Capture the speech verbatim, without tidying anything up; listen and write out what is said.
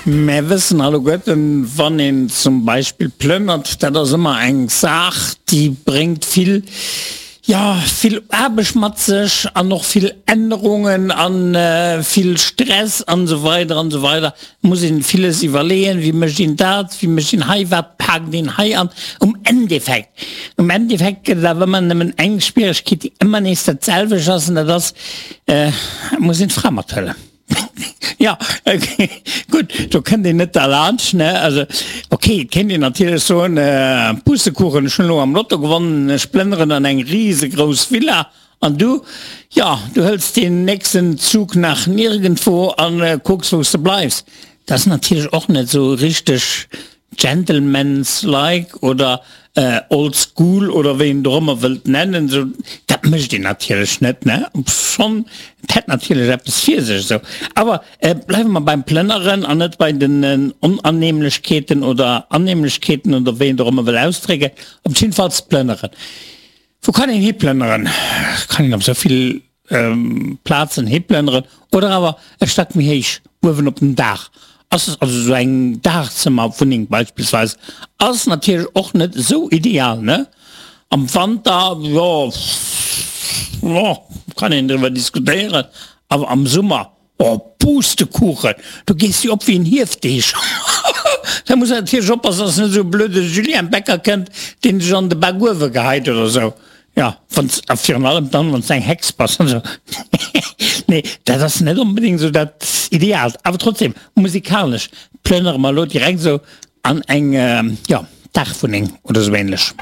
Mär wëssen alleguerten, wann een zum Beispill plënnert, dat ass ëmmer eng Saach, déi bréngt vill, jo, vill Aarbecht mat sech an och vill Ännerungen a vill Stress an esou weider an esou weider. Et muss een villes iwwerleeën, wéi mécht een dat, wéi mécht een hei, wat paakt een hei an. Um Endeffekt, um Endeffekt gëtt et awer ëmmer nëmmen eng Schwieregkeet, déi ëmmer nees dat selwecht ass, an dat ass, et muss een d'Fra mathuelen. Jo, gutt, do kënnt een net derlaanscht, ne? Also, ok, et kéint een natierlech soen, Pustekuchen, ech hunn elo am Lotto gewonnen, ech plënneren an eng risegrouss Villa, an du, jo, du hëls deen nächsten Zug nach nirgendwo a kucks, wou s de bleifs. Dat ass natierlech och net esou richteg gentleman's-like oder old school oder wéi een et och ëmmer wëllt nennen, esou, dat mécht een natierlech net, ne? Obschonn, et hätt natierlech eppes fir sech esou. Awer bleiwe mer beim Plënneren an net bei den Onannehmlechkeeten oder Annehmlechkeeten oder wéi een et och ëmmer wëll ausdrécken. Op jiddefalls plënneren. Wou kann een hiplënneren? Kann een op esou vill Plazen hiplënneren oder awer e Stack méi héich uewen op den Daach. Ass also esou eng Daachzëmmerwunneng beispillsweis ass natierlech och net esou ideal, ne? Am Wanter, jo, jo, kann een driwwer diskutéieren, awer am Summer, oh Pustekuchen, do gees de jo op wéi en Hiefdeeg. Da muss een natierlech oppassen, dass net esou e blöde Julien Becker kënnt, deen dech an de Bakuewe geheit oder esou. Jo, wann s, a virun allem dann, wann s eng Hex bass an esou. Nee, dat ass net onbedéngt esou dat Ideaalt. Awer trotzdem, musikalesch plënnere mer elo direkt esou an eng, jo, Dachwunneng oder esou ähnlech.